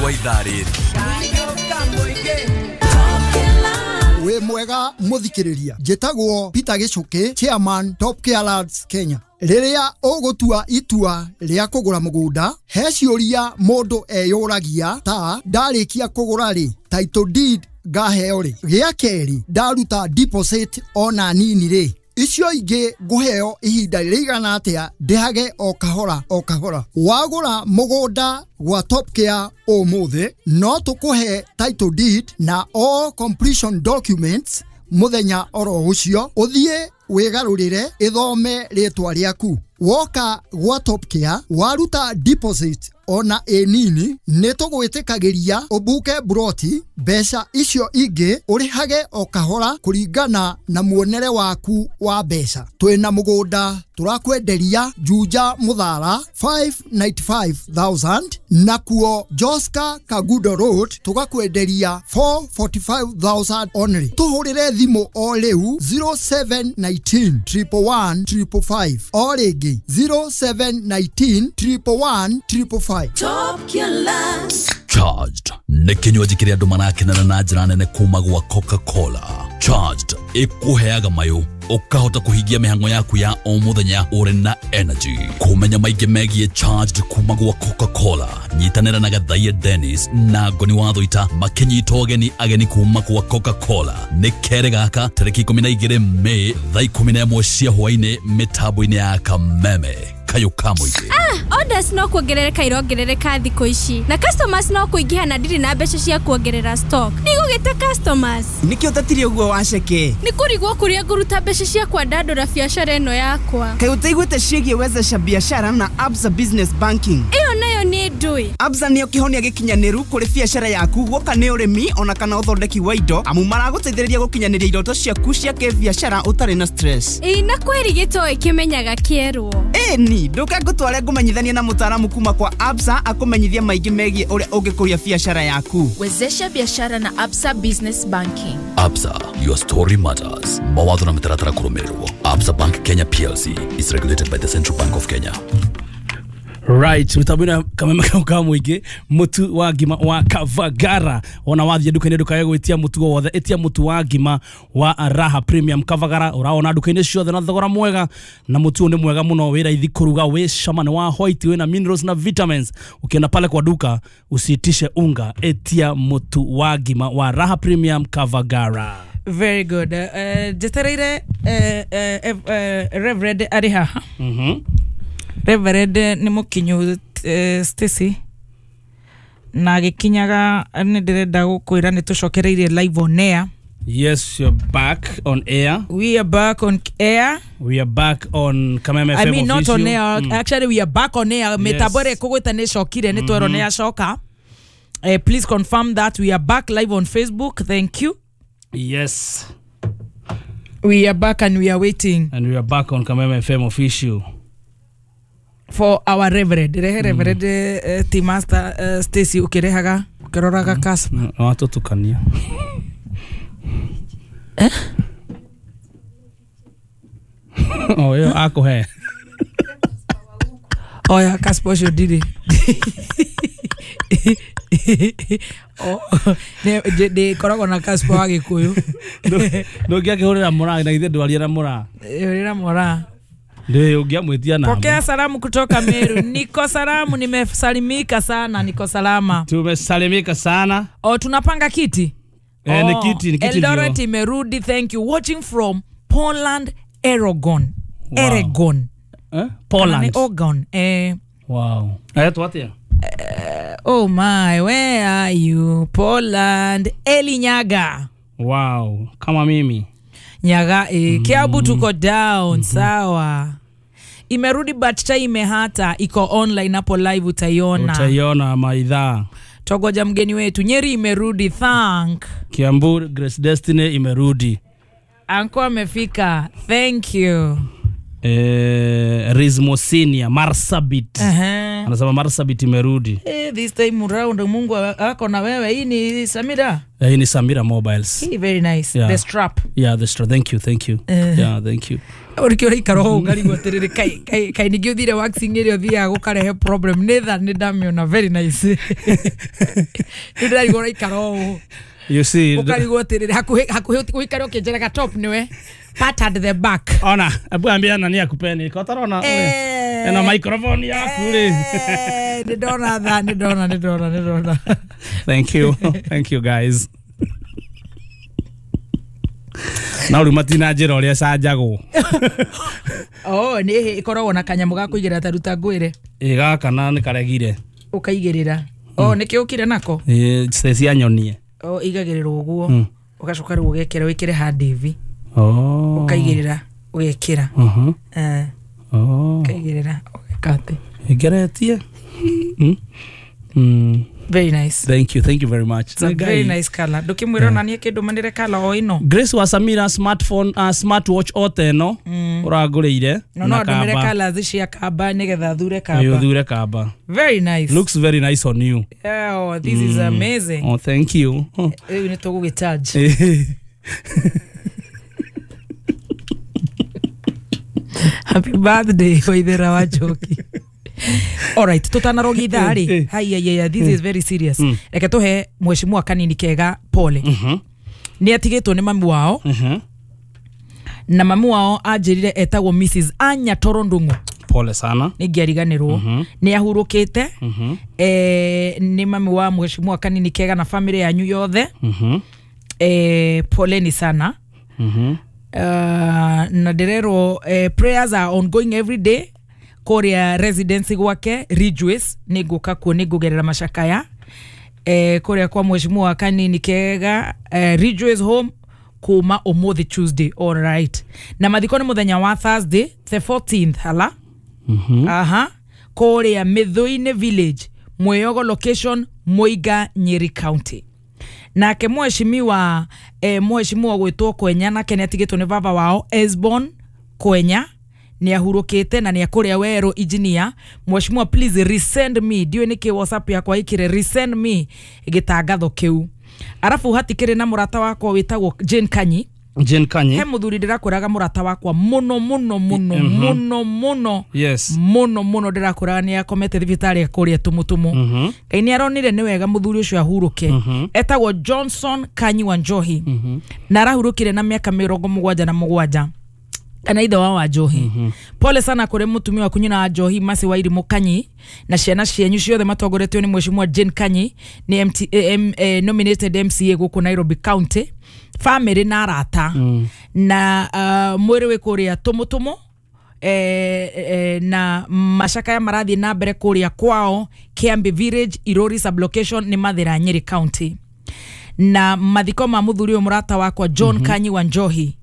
Wa ithaa rĩrĩ. Wĩ mwega mũthikĩrĩria, njĩtagwo Peter Gĩcũkĩ, chairman Top Care Lands Kenya. Rĩrĩa ũgũtua itua rĩa kũgũra mũgũnda, he ciũria mũndũ eyũragia ta ndarĩkia kũgũra rĩ, title deed ngaheo rĩ, gĩa kerĩ ndaruta deposit ona nini rĩ, icio ingĩ ngũheo ihinda rĩigana atĩa ndĩhage o kahora o kahora. Wagũra mũgũnda gwa Top Care ũmũthĩ, no tũkũhe title deed na all completion documents mũthenya oro ũcio, ũthiĩ wĩgarũrĩre ĩthome rĩtwa rĩaku. Woka gwa Top Care waruta deposit ona ĩ nini, nĩ tũgwĩtĩkagĩria ũbuke buroti, mbeca icio ingĩ ũrĩhage o kahora kũringana na muonere waku wa mbeca. Twĩna mũgũnda tũrakwenderia Juja Mũthara 595,000, nakuo Joska Kagudo Road tũgakwenderia 445,000 only. Tũhũrĩre thimũ o rĩu 0719 111 555, o rĩngĩ 0719 111 555. Top Care Lands. Charged nĩ kĩnywaji kĩrĩa andũ marakenera na njĩra nene kuma gwa Coca-Cola. Charged ĩkũheaga mayũ ũkahota kũhingia mĩhang'o yaku ya o mũthenya ũrĩ na energy. Kũmenya maingĩ megiĩ Charged kuma gwa Coca-Cola, nyitanĩra na Gathaia Dennis na Ngoni wa Thũita makĩnyita ũgeni ageni kuma gwa Coca-Cola. Nĩ kerĩ gaka tarĩki 12 Mei thaa 11 cia hwaĩ-inĩ mĩtambo-inĩ ya Kameme kayũ ka mũingĩ. Orders no kuongerereka irongerereka thikũ ici, na customers no kũingĩha na ndirĩ na mbeca cia kuongerera stock. Ndigũgĩta customers. Nĩkĩo ũtatirie ũguo waceke? Nĩ kũrigwo kũrĩa ngũruta mbeca cia kwandandũra biacara ĩno yakwa. Kaĩ ũtaiguĩte ciĩgiĩ wezesha biashara na Absa Business Banking? Ĩyo nayo nĩ ndũĩ. Absa nĩyo kĩhonia gĩkinyanĩru kũrĩ biacara yaku, guoka nĩ ũrĩmi ona kana ũthondeki wa indo, amu maragũteithĩrĩria gũkinyanĩria iroto ciaku cia kĩbiacara ũtarĩ na stress. Ĩĩ, na kweri gĩtoĩ kĩmenyaga kĩerwo. Ĩni, ndũke ngũtware ngũmenyithanie na mũtaaramu kuma kwa Absa akũmenyithie maingĩ megiĩ ũrĩa ũngĩkũria biacara yaku. Wezesha biashara na Absa Business Banking. Absa, your story matters. Mawatho na mĩtaratara kũrũmĩrĩrwo. Absa Bank Kenya PLC is regulated by the Central Bank of Kenya. Right, mitambo Kameme ka mũingĩ, mũtu wa ngima wa Kavagara. Ona wathiĩ nduka-inĩ ndũkae gwĩtia mũtu o wothe, ĩtia mũtu wa ngima wa Raha Premium Kavagara. Ũraona nduka-inĩ ciothe na thogora mwega, na mũtu ũyũ nĩ mwega mũno, wĩ raithi kũruga, wĩ cama, nĩ wa white, wĩna minerals na vitamins. Ukienda pale kwa duka usiitishe unga, etia mũtu wa ngima wa Raha Premium Kavagara. Very good. Njetereire Reverend arĩ haha. Reverend nĩ mũkinyu, Stacy, na agĩkinyaga nĩ ndĩrenda gũkwĩra nĩ tũcokereirie live on air. Yes, you're back on air. We are back on air. We are back on Kameme FM. I mean, not on official. air. Actually, we are back on air. Mĩtambo ĩrĩa ĩkũgwĩta nĩ ĩcokire, nĩ twerwo nĩ yacoka. Please confirm that we are back live on Facebook. Thank you. Yes. We are back and we are waiting. And we are back on Kameme FM official. For our Reverend. Rehe Reverend, Team Master, Stacy, ũkĩrehaga ũkĩroraga Casper. Watũtukania. Eh? O ĩyo akũhe. Oya Casper ũcio ndirĩ. Ndĩkoragwo na Casper wa Gĩkũyũ. Ndũngĩakĩhũrĩra mũraa na githĩ ndwaria na mũraa. Hũrĩra mũraa. Ndio ungeamwitia namba. Pokea salamu kutoka Meru. Niko salamu, nimesalimika sana, niko salama. Tumesalimika sana. Oh, tunapanga kiti. Ni kiti, ni kiti. Eldoret imerudi, thank you. Watching from Poland, Oregon. Wow. Oregon. Eh? Poland. Oregon. Wow. Ayetu atia? Oh my, where are you? Poland. Eli Nyaga. Wow, kama mimi. Nyaga, Kiambu tuko down, sawa. Imerudi but chai imehata, iko online hapo live utaiona. Utaiona maidhaa. Togoja mgeni wetu. Nyeri imerudi, thank. Kiambu Grace Destiny imerudi. Anko amefika. Thank you. Rizmosinia Marsabit. Anasema Marsabit imerudi. This time round Mungu ako na wewe. Hii ni Samira. Hii ni Samira Mobiles. Hii very nice. Yeah. The strap. Yeah, the strap. Thank you, thank you. Yeah, thank you. Urikio raikara hau ngarigwo atiriri kai kai ningĩ ũthire waxing ĩrĩa ũthiaga gũkarehe problem nĩ tha nĩ ndamĩona very nice. Nĩ ndĩrarigwo ũraikara ũũ. You see, ukarigwo atiriri hakuhĩ hakuhĩ ũikare ũkĩnjĩraga top nĩwe part at the back. Ona, abu ambia nani akupeni. Kwa tarona. Ena microphone yaku ri. Nĩ ndona tha, nĩ ndona, nĩ ndona, nĩ ndona. Thank you. Thank you guys. Na uri matina njira uria canjagwo. Oh, nĩ ikoragwo na kanyamũ ga kũigĩrĩra ta ruta ngwĩre. Ĩ gaka na nĩ karegire. Ũkaigĩrĩra. Oh, nĩkĩo ũkire nako? Ĩ cia nyonie. Oh, igagĩrĩrwo ũguo. Ũgacoka rĩu ũgekĩra wĩkĩre hard hivi. Oh. Ũkaigĩrĩra ũgekĩra. Oh. Ũkaigĩrĩra ũgeka atĩ. Ngeretie. Very nice. Thank you, thank you very much. It's a very nice color. Ndũkĩmwĩra ona niĩ kĩndũ manĩre color o ĩno. Grace wa Samira smartphone smartwatch ote ĩno ũrangũrĩire. No no ndũmĩre colors cia kamba nĩgetha thure kamba. Ĩ thure kamba. Very nice. Looks very nice on you. Yeah, oh, this is amazing. Oh, thank you. Rĩu nĩ tũgũgĩcharge. Happy birthday Waithera wa Njoki. All right, tutanarogi ithaa rĩ. Haya yeah, this is very serious. Reke tuhe mheshimiwa Kanini Kega pole. Nĩ atigĩtwo nĩ mami wao. Na mami wao anjĩrire etagwo Mrs. Anya Toro Ndung'u. Pole sana. Nĩ ngĩariganĩrwo. Nĩ ahurũkĩte. Nĩ mami wa mheshimiwa Kanini Kega na family yanyu yothe. Poleni sana. Na ndĩrerwo prayers are ongoing every day kũrĩa residency gwake Ridgeways. Nĩ ngũka kuo, nĩ ngũgerera macakaya kũrĩa kwa mheshimiwa Kanini Kega Ridgeways home kuma ũmũthĩ Tuesday. All right. Na mathiko nĩ mũthenya wa Thursday the 14th hala. Aha. Kũrĩa Mĩthũinĩ village, Mwĩyogo location, Muiga, Nyeri County. Nake mheshimiwa mheshimiwa gwĩtwo Kwenya nake nĩ atigĩtwo nĩ baba wao Esbon Kwenya. Nĩ ahurũkĩte na nĩ akũrĩa werũ engineer. Mheshimiwa please resend me, ndiũĩ nĩkĩ WhatsApp yakwa ĩkire resend me gĩtangatho kĩu. Arabu hatikĩrĩ na mũrata wakwa wĩtagwo Jane Kanyi. Jane Kanyi. He mũthuri ndĩrakwĩraga mũrata wakwa mũno mũno mũno mũno mũno. Yes. Mũno mũno ndĩrakwĩraga nĩ akomete thibitarĩ kũrĩa Tumutumu. Ngai nĩ aronire nĩ wega mũthuri ũcio ahurũke. Etagwo Johnson Kanyi wa Njohi. Na arahurũkire na mĩaka 77. Kana ithe wa Njohi. Pole sana kũrĩ mũtumia waku nyina wa Njohi Mercy Wairimu Kanyi na ciana cianyu ciothe matongoretio nĩ mheshimiwa Jane Kanyi nĩ nominated MCA gũkũ Nairobi County. Family na arata. Na mwĩrĩ wĩ kũrĩa Tumutumu na macakaya marathiĩ na mbere kũrĩa kwao Kiambi Village, Irori sublocation nĩ Mathĩra, Nyeri County. Na mathiko ma mũthuri ũyũ mũrata wakwa John Kanyi wa Njohi,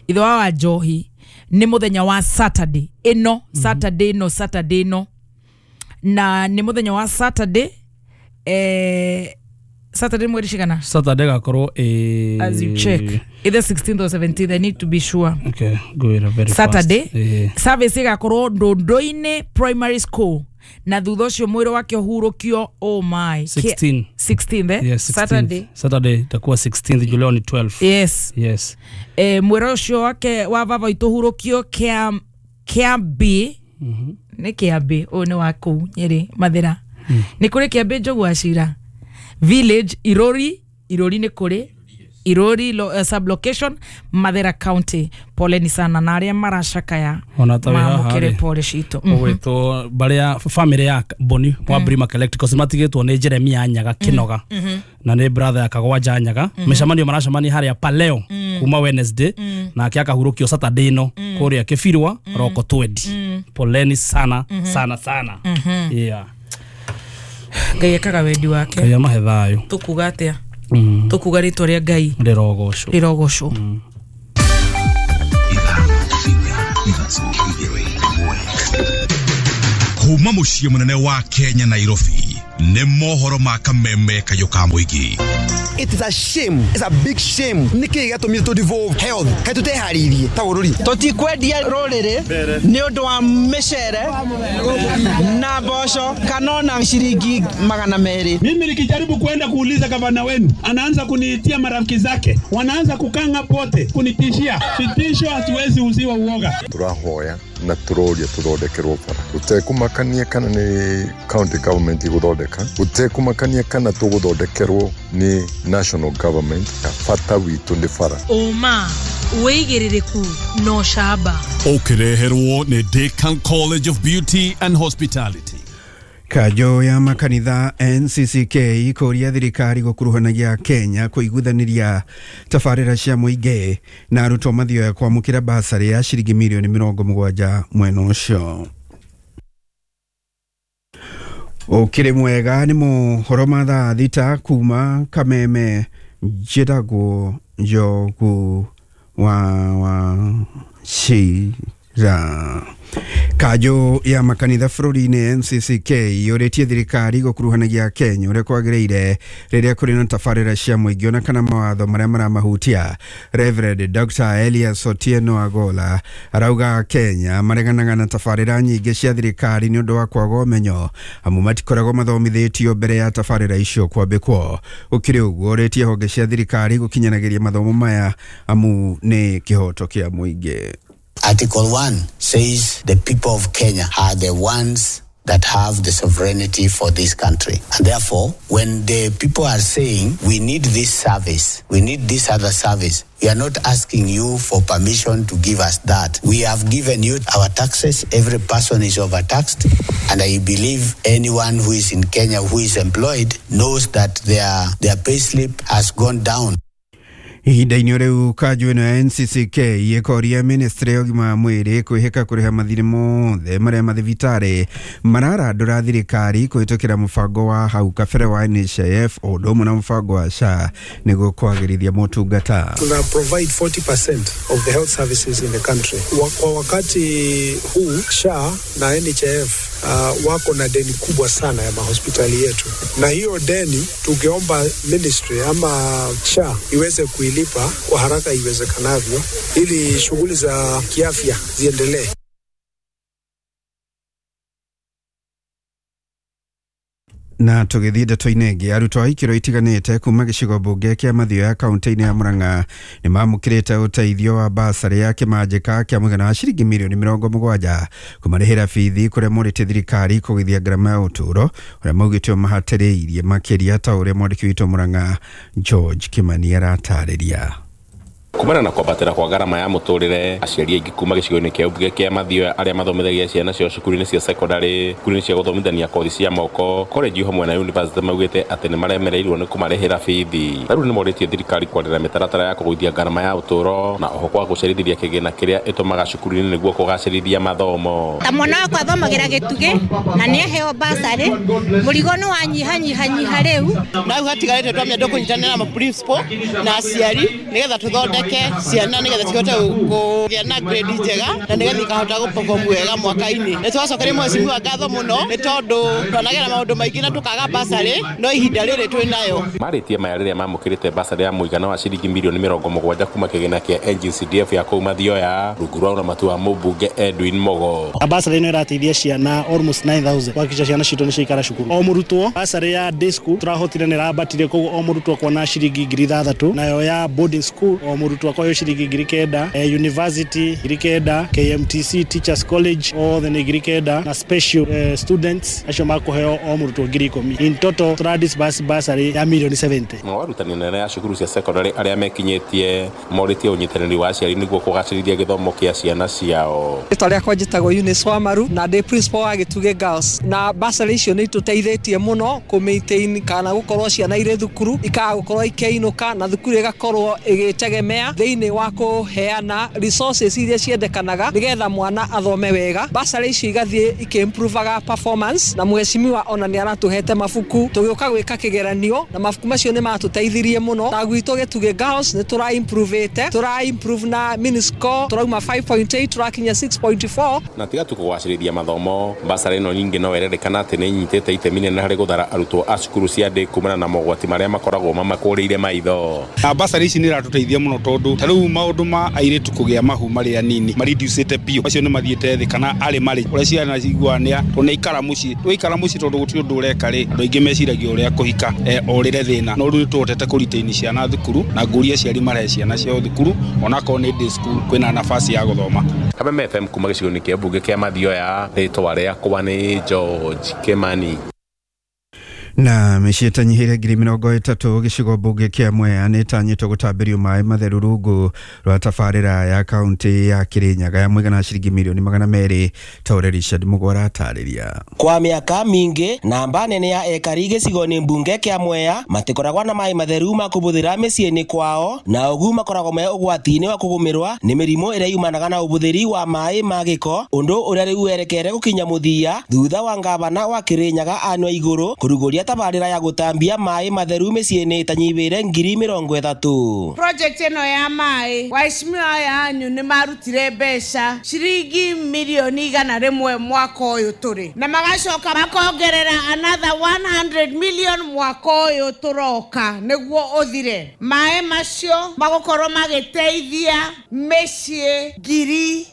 ithe wa Njohi, nĩ mũthenya wa Saturday ĩno. Saturday ĩno, Saturday ĩno. Na nĩ mũthenya wa Saturday Saturday mweri cigana? Saturday gakorwo as you check either 16th or 17th, I need to be sure. Okay, go in very Saturday fast. Service igakorwo Ndũndũ-inĩ Primary School na thutha ũcio mwĩrĩ wake ũhurũkio. Oh my. 16. 16th Yes, 16th. Saturday. Saturday itakuwa 16th, July ni 12. Yes. Yes. Mwĩrĩ ũcio wake wa baba witũ ũhurũkio Kĩambi. Nĩ Kĩambi ũyũ nĩ wa kũu Nyĩrĩ Mathĩra. Nĩ kũrĩ Kĩambi Njogu wa Cira Village, Irori, Irori nĩ kũrĩ Irori sublocation, Mathĩra County. Poleni sana na arĩa maracakaya mamũkĩre pole citũ. Ũgwĩtwo barĩa family ya Boni wa Brimac Electricals matigĩtwo nĩ Jeremia Nyaga Kinoga na nĩ brother ya Kagwanja Nyaga. Mĩcemanio maracemania harĩa Paleo kuma Wednesday nake akahurũkio Saturday ĩno kũrĩa Kĩbirwa roko 20. Poleni sana sana sana. Yeah. Ngai ekaga wendi wake. Ngai amahe thayũ. Tũkuga atĩa? Tũkuga rĩtwa rĩa Ngai rĩrogocwo. Rĩrogocwo. Kuma mũciĩ mũnene wa Kenya Nairobi, Nĩ mohoro ma kameme kayũ ka mũingĩ. It is a shame. It's a big shame. Nĩkĩ gĩatũmire tũ devolve health? Kaĩ tũteharĩirie ta bũrũri? Tũtikwendia rũrĩrĩ nĩ ũndũ wa mĩcere na mboco kana ona ciringi 200. Mimi nikijaribu kuenda kuuliza gavana wenu, anaanza kuniitia marafiki zake, wanaanza kukanga pote kunitishia. Vitisho hatuwezi uziwa uoga. Tũrahoya na tũroria tũthondekerwo bara gũtekũmakania kana nĩ county government ĩgũthondeka, gũtekũmakania kana tũgũthondekerwo nĩ national government. Bata witũ nĩ bara. Ũma, wĩigĩrĩrĩku na ũcamba. Ũkĩreherwo nĩ Decan College of Beauty and Hospitality. Kanjũ ya makanitha NCCK kũria thirikari gũkuruhanagia Kenya kũiguithanĩria tabarĩra cia mũingĩ na arutwo mathioya kwamũkĩra basarĩ ya ciringi mirioni 70 mwena ũcio. Ũkĩrĩ mwega nĩ mohoro ma thaa 6 kuma Kameme. Njĩtagwo Njogu wa Wachira. Kanjũ ya makanitha bũrũri-inĩ NCCK yũrĩtie thirikari gũkuruhanagia Kenya ũrĩa kwagĩrĩire rĩrĩa kũrĩ na tabarĩra cia mũingĩ ona kana mawatho marĩa maramahutia. Reverend Dr. Elias Otieno Agola arauga Kenya mareganaga na tabarĩra nyingĩ cia thirikari nĩ ũndũ wa kwaga ũmenyo, amu matikoragwo mathomithĩtio mbere ya tabarĩra icio kwambĩkwo. Gũkĩrĩ ũguo, ũrĩtie honge cia thirikari gũkinyanagĩria mathomo maya amu nĩ kĩhoto kĩa mũingĩ. Article 1 says the people of Kenya are the ones that have the sovereignty for this country. And therefore, when the people are saying, we need this service, we need this other service, we are not asking you for permission to give us that. We have given you our taxes. Every person is overtaxed. And I believe anyone who is in Kenya who is employed knows that their pay slip has gone down. Ihinda-inĩ rĩu kanjũ ĩno ya NCCK ĩkoria ministry ya ũgima wa mwĩrĩ kwĩhĩka kũrĩha mathirĩ mothe marĩa mathibitarĩ mararandũra thirikari kũhĩtũkĩra mũbango wa hau kabere wa NHIF o ũndũ ũmwe na mũbango wa SHA nĩguo kwagĩrithia motungata. Tuna provide 40% of the health services in the country. Kwa wakati huu SHA na NHIF wako na deni kubwa sana ya mahospitali yetu, na hiyo deni tungeomba ministry ama SHA iweze kuilipa kwa haraka iwezekanavyo ili shughuli za kiafya ziendelee. Na tũgĩthiĩ ndeto-inĩ ĩngĩ, arutwo a ikĩro itiganĩte kuma gĩcigo mbunge kĩa Mathioya kaunti-inĩ ya Murang'a nĩ mamũkĩrĩte ũteithio wa basarĩ ya kĩmanjĩka kĩa mũigana wa ciringi mirioni 70 kũmarĩhĩra bithi kũrĩa morĩtie thirikari kũgĩthia ngarama ya ũtũũro ũrĩa maugĩte mahatĩrĩirie makĩria ta ũrĩa mwandĩki witũ Murang'a George Kimani aratarĩria. Kumana na kwambatĩra kwa ngarama ya mũtũrĩre, aciari aingĩ kuma gĩcigo-inĩ kĩa mbunge kĩa Mathioya arĩa mathomithagia ciana ciao cukuru-inĩ cia secondary, cukuru-inĩ cia gũthomithania kothi cia moko, college hamwe na university maugĩte atĩ nĩ maremereirwo nĩ kũmarĩhĩra bithi. Rĩu nĩ morĩtie thirikari kwarĩra mĩtaratara ya kũgũithia ngarama ya ũtũũro na oho kwa gũcerithĩria kĩgĩna kĩrĩa ĩtũmaga cukuru-inĩ nĩguo kũgacĩrithia mathomo. Ta mwana wakwa athomagĩra Gĩtugĩ na nĩ aheo basarĩ, mũrigo nĩ wanyihanyihanyiha rĩu. Na rĩu hatigarĩte twamia tũkũnyitanĩra na principal na aciari nĩgetha tũthondeke ciana nĩgetha cihote kũgĩa na grade njega na nĩgetha ikahota gũperform wega mwaka-inĩ. Nĩ twacokeria mheshimiwa ngatho mũno nĩ tondũ twanagera maũndũ maingĩ na tũkaga basarĩ, no ihinda rĩrĩ twĩ nayo. Marĩtie maya rĩrĩa mamũkĩrĩte basarĩ ya mũigana wa ciringi mirioni 70 kuma kĩgĩna kĩa NGCDF ya kũu Mathioya rungu rwa ũramati wa mũmbunge Edwin Mogo. Basarĩ ĩno ĩrateithia ciana almost 9000 kuhakikisha ciana citũ nĩ ciaikara cukuru. O mũrutwo basarĩ ya day school tũrahotire nĩ ĩrambatire, koguo o mũrutwo kuona ciringi 6000, nayo ya boarding school o mũrutwo akoyo ciringi 9000, university 9000, KMTC Teachers College othe nĩ 9000, na special students acio makũheo o mũrutwo 10000. In total tũra disburse basarĩ ya mirioni 70. Arutani anene a cukuru cia secondary arĩa mekinyĩtie morĩtie ũnyitanĩri wa aciari nĩguo kũgacĩrithia gĩthomo kĩa ciana ciao. Rĩtwa rĩakwa njĩtagwo Eunice Wamaru na ndĩ principal wa Gĩtugĩ Girls, na basarĩ icio nĩ itũteithĩtie mũno kũ maintain kana gũkorwo ciana irĩ thukuru ikaga gũkorwo ikĩinũka na thukuru ĩgakorwo ĩgĩtegemea Mwea thĩinĩ wa kũheana resources iria ciendekanaga nĩgetha mwana athome wega. Basarĩ icio igathiĩ ikĩimprovaga performance, na mheshimiwa ona nĩ aratũhete mabuku tũgĩũka gwĩka kĩgeranio, na mabuku macio nĩ matũteithirie mũno. Ta gwitũ Gĩtugĩ Girls nĩ tũra improve-ĩte, tũra improve na mini score tũrauma 5.8 tũrakinya 6.4. Na tiga tu kũgacĩrithia mathomo, basarĩ ĩno ningĩ no ĩrerĩkana atĩ nĩ ĩnyitĩte itemi inene harĩ gũthara arutwo a cukuru cia ndĩ kumana na mogwati marĩa makoragwo mamakũrĩire maitho. Na basarĩ ici nĩ iratũteithia mũno tondũ ta rĩu maũndũ ma airĩtu kũgĩa mahu marĩ anini mareducĩte biũ, macio nĩ mathiĩte thĩ kana arĩ marĩ ũrĩa ciana ciguaga nĩ tondũ nĩ mũciĩ twaikara mũciĩ tondũ gũtirĩ ũndũ ũreka rĩ, andũ aingĩ meciragia ũrĩa kũhika orĩre thĩna, no rĩu nĩtũhotete kũretain ciana thukuru na ngũria aciari marehe ciana ciao thukuru onakorwo nĩ day school kwĩna nafasi ya gũthoma. Kameme FM kuma gĩcigo-inĩ kĩa mbunge kĩa Mathioya, rĩtwa rĩakwa nĩ George Kimani. Na mĩciĩ ĩtanyihĩire 30,000 gĩcigo mbunge kĩa Mwea nĩ ĩtanyĩtwo gũtambĩrio maĩ matheru rungu rwa tabarĩra ya kaunti ya Kirinyaga ya mũigana wa ciringi mirioni 200 ta ũrĩa Richard Mũgwara atarĩria. Kwa mĩaka mingĩ namba nene ya ekari gĩcigo-inĩ mbunge kĩa Mwea matikoragwo na maĩ matheru ma kũbũthĩra mĩciĩ-inĩ kwao, na ũguo makoragwo me ũgwati-inĩ wa kũgũmĩrwa nĩ mĩrimũ ĩrĩa yumanaga na ũbũthĩri wa maĩ ma gĩko, ũndũ ũrĩa rĩu werekere gũkinya mũthia thutha wa ngavana wa Kirinyaga Anne Waigũrũ kũrugũria tabarĩra ya gũtambia maĩ matheru mĩciĩ-inĩ ĩtanyihĩire 30,000. Project ĩno ya maĩ, waheshimiwa aya anyu nĩ marutire mbeca ciringi mirioni 100 mwaka ũyũ tũrĩ, na magacoka makongerera another 100 million mwaka ũyũ tũroka nĩguo ũthire. Maĩ macio magũkorwo magĩteithia mĩciĩ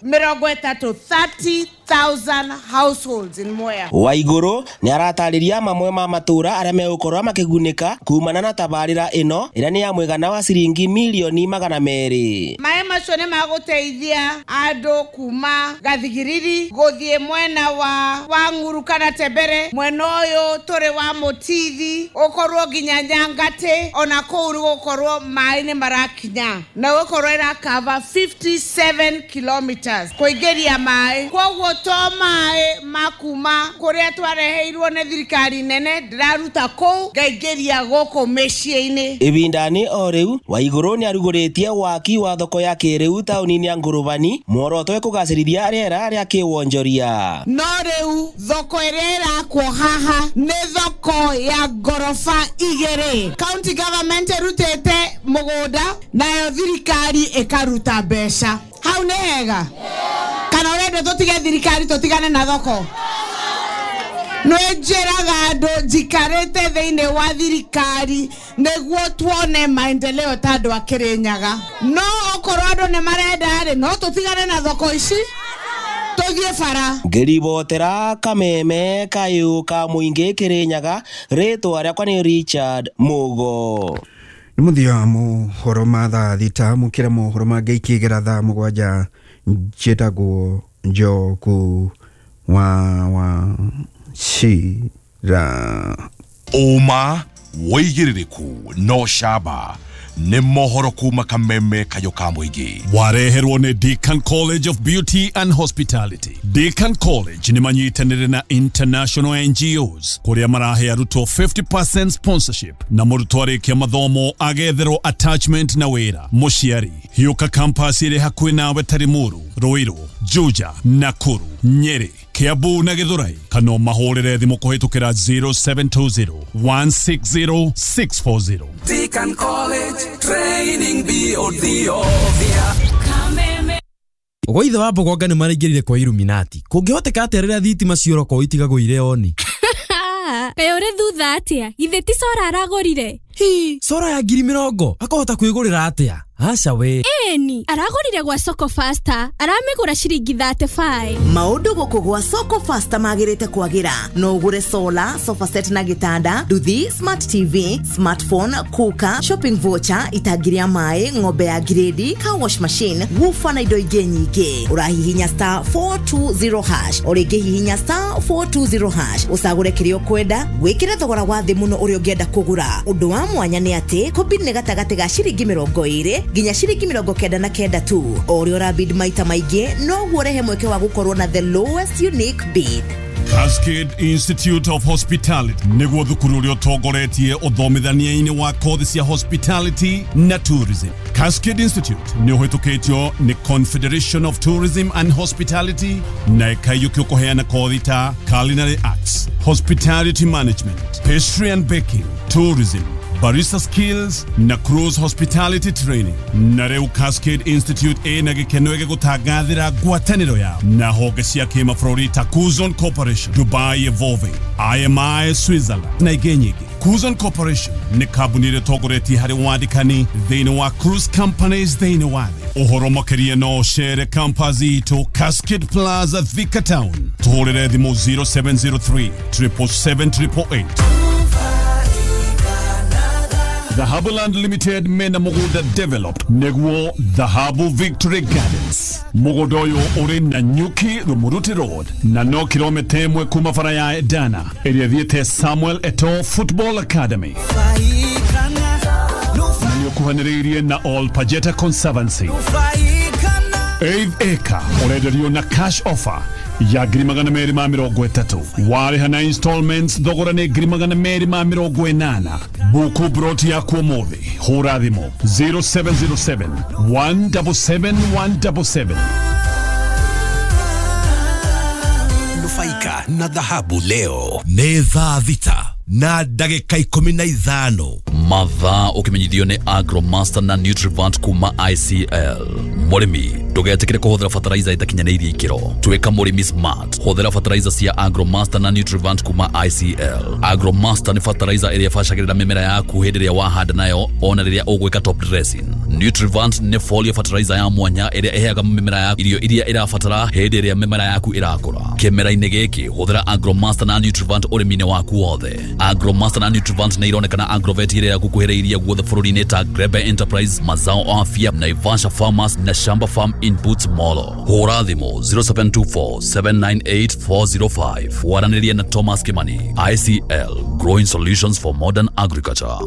30,000, 30,000 households in Mwea. Waigũrũ nĩ aratarĩria mamwe ma matũra arĩa megũkorwo makĩgunĩka kumana na tabarĩra ĩno ĩrĩa nĩ ya mũigana wa ciringi mirioni 200. Maĩ macio nĩ magũteithia andũ kuma Gathigiriri gũthiĩ mwena wa Ng'uru kana Tembere, mwena ũyũ tũrĩ wa Mũtithi ũkorwo nginya Nyangatĩ, ona kũu gũkorwo maĩ nĩ marakinya na gũkorwo ĩrakava 57 kilometers kũingĩria maĩ. Kwoguo to maĩ ma kuma kũrĩa twareheirwo nĩ thirikari nene ndĩraruta kũu ngaingĩria gũkũ mĩciĩ-inĩ. Ibindani o rĩu Waigũrũ nĩ arugũrĩtie waki wa thoko ya kĩrĩu taũni-inĩ ya Ngũrũbani, muoroto we kũgacĩrithia rĩera rĩa kĩwonjoria. No rĩu thoko ĩrĩa ĩrakwo haha nĩ thoko ya ngoroba 2. County government ĩrutĩte mũgũnda nayo thirikari ĩkaruta mbeca. Hau nĩ hega? Kana ũrenda tũtige thirikari tũtigane na thoko? Nĩnjĩraga andũ njikarĩte thĩinĩ wa thirikari nĩguo tuone maendeleo ta andũ a Kirinyaga. No okorwo andũ nĩ marenda rĩ, no tũtigane na thoko ici tũthiĩ bara. Ngĩribotera Kameme kayũ ka mũingĩ Kirinyaga, rĩtwa rĩakwa nĩ Richard Mugo. Nĩ mũthia wa mohoro ma thaa 6 mũkĩra mohoro mangĩ ikĩgera thaa 7. Njĩtagwo Njoku wa Shira. Ũma wĩigĩrĩrĩku no camba nĩ mohoro kuma Kameme kayũ ka mũingĩ. Wareherwo nĩ Deakin College of Beauty and Hospitality. Deakin College nĩ manyitanĩire na international NGOs kũrĩa marahe arutwo 50% sponsorship na mũrutwo arĩkia mathomo agetherwo attachment na wĩra. Mũciari hiũka campus ĩrĩ hakuhĩ nawe ta Limuru, Ruiru, Juja, Nakuru, Nyeri, Kiambu na Githurai, kana mahũrĩre thimũ kũhĩtũkĩra 0720 160 640. Deakin College Training beyond the obvious. Gwa ithe wa Mbogonga nĩ maraingĩrire kwa Illuminati. Kũngĩhoteka atĩa rĩrĩa thitima ciora itigagwo irĩ oni? Kaĩ ũrĩ thutha atĩa? Githĩ ti cora aragũrire? Hi, cora ya 20,000 akahota kwĩgũrĩra atĩa? Aca we. Ĩni, aragũrire gwa Soko Faster, aramĩgũra ciringi 35. Maũndũ gũkũ gwa Soko Faster magĩrĩte kwagĩra. No ũgũre solar, sofa set na gĩtanda, nduthi, smart TV, smartphone, cooker, shopping voucher, itangi rĩa maĩ, ng'ombe ya grade, car wash machine, woofer na indo ingĩ nyingĩ. Ũrahihinya star 420 hash, o rĩngĩ hihinya star 420 hash, ũcagũre kĩrĩa ũkwenda, wĩkĩre thogora wa thĩ mũno ũrĩa ũngĩenda kũgũra. Ũndũ wa mwanya nĩ atĩ kũbid nĩ gatagatĩ ga ciringi 20 nginya ciringi 99 tu. O ũrĩa ũrabid maita maingĩ noguo ũrehe mweke wa gũkorwo na the lowest unique bid. Cascade Institute of Hospitality nĩguo thukuru ũrĩa ũtongoretie ũthomithania-inĩ wa kothi cia hospitality na tourism. Cascade Institute nĩ ũhĩtũkĩtio nĩ Confederation of Tourism and Hospitality na ĩkaiyũkio kũheana kothi ta culinary arts, hospitality management, pastry and baking, tourism, barista skills na cruise hospitality training. Na rĩu Cascade Institute ĩna gĩkeno gĩgũtangathĩra ngwatanĩro yao na honge cia kĩmabũrũri ta Kuzon Corporation, Dubai Evolving, IMI Switzerland na ingĩ nyingĩ. Kuzon Corporation nĩ kambuni ĩrĩa ĩtongoretie harĩ wandĩkani thĩinĩ wa cruise companies thĩinĩ wa thĩ. Ũhoro makĩria no ũcere campus itũ Cascade Plaza, Thika Town. Tũhũrĩre thimũ 0703 777 888. Dhahabu Land Limited mena mũgũnda developed nĩguo Dhahabu Victory Gardens. Mũgũnda ũyũ ũrĩ Nanyuki Rumuruti Road na no kilomita 1 kuma bara ya Edana ĩrĩa ĩthiĩte Samuel Eto'o Football Academy. Na nĩ ũkuhanĩrĩirie na All Pajeta Conservancy. 8 acre ũrenderio na cash offer ya 230,000, warĩha na installments thogora nĩ 280,000. Buku broti yaku ũmũthĩ, hũra thimũ 0707 177 177. Nufaika na dhahabu leo. Nĩ thaa 6:15. Mathaa ũkĩmenyithio nĩ Agromaster na Nutrivant kuma ICL. Mũrĩmi ndũgetĩkĩre kũhũthĩra fertilizer ĩtakinyanĩirie ikĩro. Tuĩka mũrĩmi smart, hũthĩra fertilizer cia Agromaster na Nutrivant kuma ICL. Agromaster nĩ fertilizer ĩrĩa ĩbacagĩrĩra mĩmera yaku hĩndĩ ĩrĩa wahanda nayo ona rĩrĩa ũgwĩka top dressing. Nutrivant nĩ foliar fertilizer ya mwanya ĩrĩa ĩheaga mĩmera yaku irio iria ĩrabatara hĩndĩ ĩrĩa mĩmera yaku ĩrakũra. Kĩmera-inĩ gĩkĩ hũthĩra Agromaster na Nutrivant ũrĩmi-inĩ waku wothe. Agromaster na Nutrivant nĩ ironekana Agrovet ĩrĩa ĩrakuhĩrĩirie guothe bũrũri-inĩ ta Grebe Enterprise, Mazao Afya, Naivasha Farmers na Shamba Farm Inputs Molo. Hũra thimũ 0724 798 405. Waranĩrie na Thomas Kimani. ICL, growing solutions for modern agriculture.